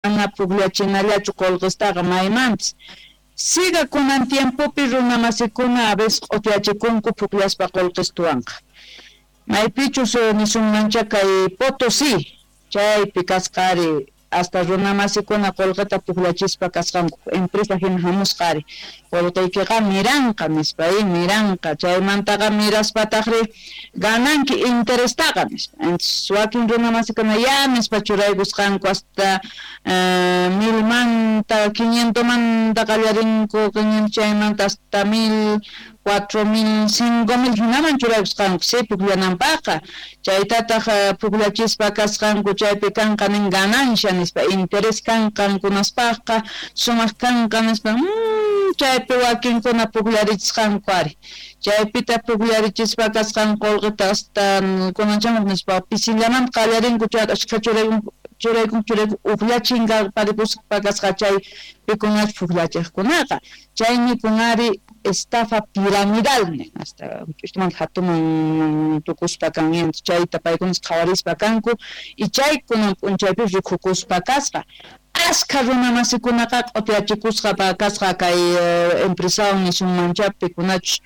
Mana pukllachinallachu qullqistaqa maymanpis. Siga kunan tiempopi runamasikuna a veces q'utiyachikunku pukllaspa qullqistuwanqa. Maypichus nisunmancha kay Potosí chaypi kasqa ari hasta runamasikuna qullqita pukllachispa kasqanku empresa hina hamusqa ari qullqiykiqa miranqa nispa miranqa chaymantaqa miraspataqri gananki interestaqa nispa. Entonces wakin runamasikuna ya nispa churaykusqanku hasta milmanta 500manta qallarinku chaymanta hasta 1000, 4000, 5000 hinaman churaykusqanku si pukllananpaqqa chaytataq pukllachispa kasqanku chaypi kanqa nin ganancia nispa interés kan qankunaspaqqa sumaq kanqa nispa chaypi wakinkuna pukllarichisqanku ari chaypita pukllarichispa kasqan qullqita hasta kunanchamuq nispa pisillamanta qallarinku chayta ashkha churaykunku churaykunku ukllachinkarparikuspa kasqa chay pikunachu pukllachiqkunaqa chaymi kunari estafa piramidal hasta huch'uytumanta hatuman tukuspa kan chayta paykunas qhawarispa kanku y chay kunan p'unchaypi rikukuspa kasqa askha runamasikunaqa q'utiyachikusqa kasqa kay empresawan nisunmancha pikunachus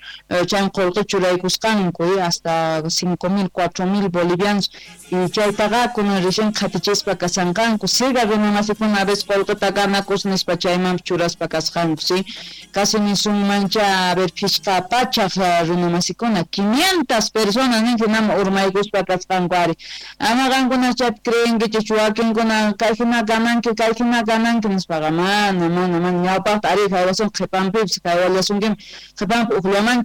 chay qullqi churaykusqanku hasta 5000, 4000 bolivianos y chaytaqa kunan recién qhatichispa kasanqanku siga runamasikuna a veces qullqita ganakus nispa chaymanpis churaspa kasqanku si casi nisunmancha a ver 500 runamasikuna 500 personas nin hinaman urmaykuspa kasqanku ari ama qankuna chaypi creenkichis wakinkuna kay hina gananki kay hina gananki nispaqa mana mana mana ñawpaqta ari haywasun qhipanpipis haywallasunkiman qhipanpi ukllaman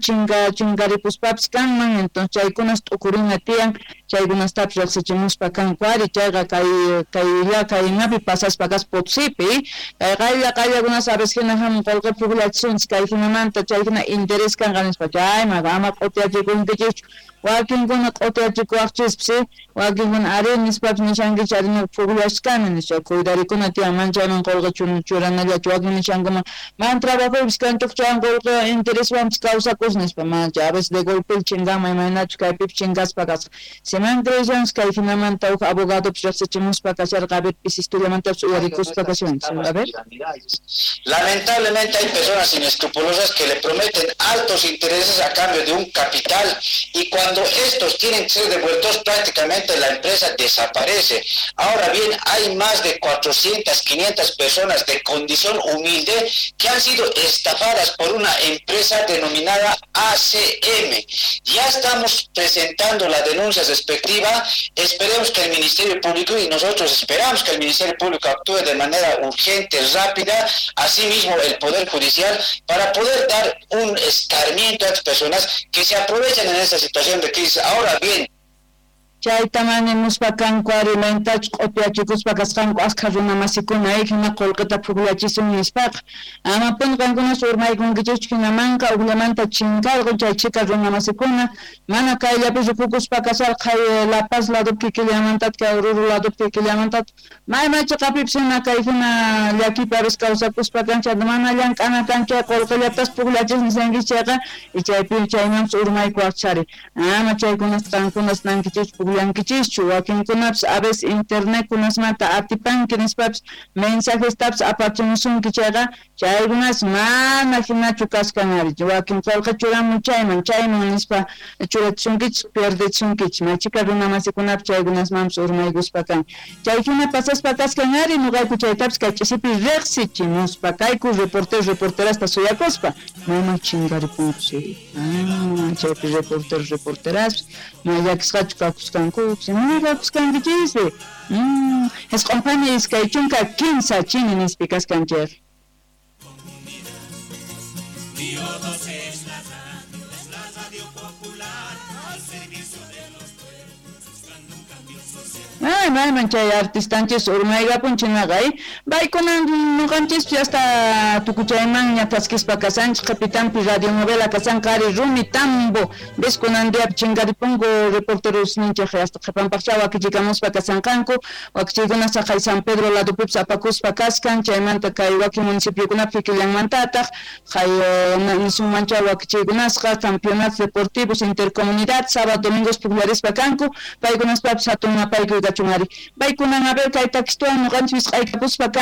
chinkaripuspapis kanman entonces chaykunas t'ukurina tiyan chaykunastapis riqsichimuspa kanku ari chayqa kay kaylla kaynapi pasaspa kaspa Potosipi kay qaylla qayllakunas a veces hina hamun qullqi pukllachisunchis kay hinamanta chay hina interés kanqa nispa chayman ama q'utiyachikunkichikchu wakinkuna q'utiyachikuwaqchispis wakinkuna ari nispapis nishankichik ari ñuqa pukllashkani nispa cuidarikuna tiyan mana chayman qullqi churanallachu wakin nishankuman mana trabajoypis kanchuk chaywan qullqi intereswanpis kawsakus nispa mana chay a veces de golpe chinkanman imaynachus kaypipis chinkaspa kasqa siman creyshanchis kay hinamanta huk abogadopis riqsichimuspa kasharqa a ver pisisturllamantapis uyarikuspa kashanchis a ver. Lamentablemente hay personas inescrupulosas que le prometen altos intereses a cambio de un capital y cuando estos tienen que ser devueltos prácticamente la empresa desaparece. Ahora bien, hay más de 400, 500 personas de condición humilde que han sido estafadas por una empresa denominada ACM. Ya estamos presentando la denuncia respectiva. Esperemos que el Ministerio Público y nosotros esperamos que el Ministerio Público actúe de manera urgente, rápida, asimismo el Poder Judicial, para poder dar un escarmiento a las personas que se aprovechan en esta situación de crisis. Ahora bien, chayta manimuspa kanku ari maytachus q'utiyachikuspa kasqanku askha runamasikuna hina qullqita pukllachisun nispaqa amapuni qankunas urmaykunkichischu hinamanqa uqllamanta chinkarqun chay chhika runamasikuna mana kayllapi rikukuspa kasharqa kay La Paz ladopi kikillamantataq kay Oruro ladopi kikillamantataq may may chiqapipis hina kay hina llakipi a veces kawsakuspa kan chayta mana llank'ana kan chay qullqillatas pukllachis nishankichis chayqa y chaypi chaymanpis urmaykuwaqchis ari ama chaykunasta qankunas nankichischu pukllankichischu wakinkunapis a veces internet kunasmanta atipanki nispapis mensajestapis apachimusunki chayqa chaykunas mana hinachu kashkan ari wakin qullqi churamun chayman chayman nispa churachisunkichis pierdechisunkichis maychika runamasikunapis chaykunasmanpis urmaykuspa kan chay hina pasaspa kashkan ari ñuqayku chaytapis kay ch'isipi riqsichimuspa kayku reportero reporterasta suyakuspa mayman chinkaripunku si chaypi reportero reporteraspas may llakisqachu kakusqanku mana kakusqankichispi 9:23 chini nispi kaskanchik. Es la radio popular al servicio de los pueblos, buscando un cambio social. Ay, mayman chay artistanchis urmaykapun chinaqa paykunan ñuqanchispis hasta tukuchaymanña thaskispa kasanchik qhipitanpi radionovela kasanqa ari Rumi Tambo ves kunan diapi chinkaripunku reporteros ninchik hasta qhipanpaqcha wakichikamuspa kasanqanku wakichiykuna saqay San Pedro ladopipis apakuspa kaskan chaymanta kay wakin municipiokunapi kikillanmantataq kay nisunmancha wakichiykunasqa campeonatos deportivos intercomunidad sábado domingos pukllarispa kanku paykunaspapis hatun mapaykuy kachun. kachun ari. Paykunan a ver kay takistuwan ñuqanchis wisq'aykapuspa kan.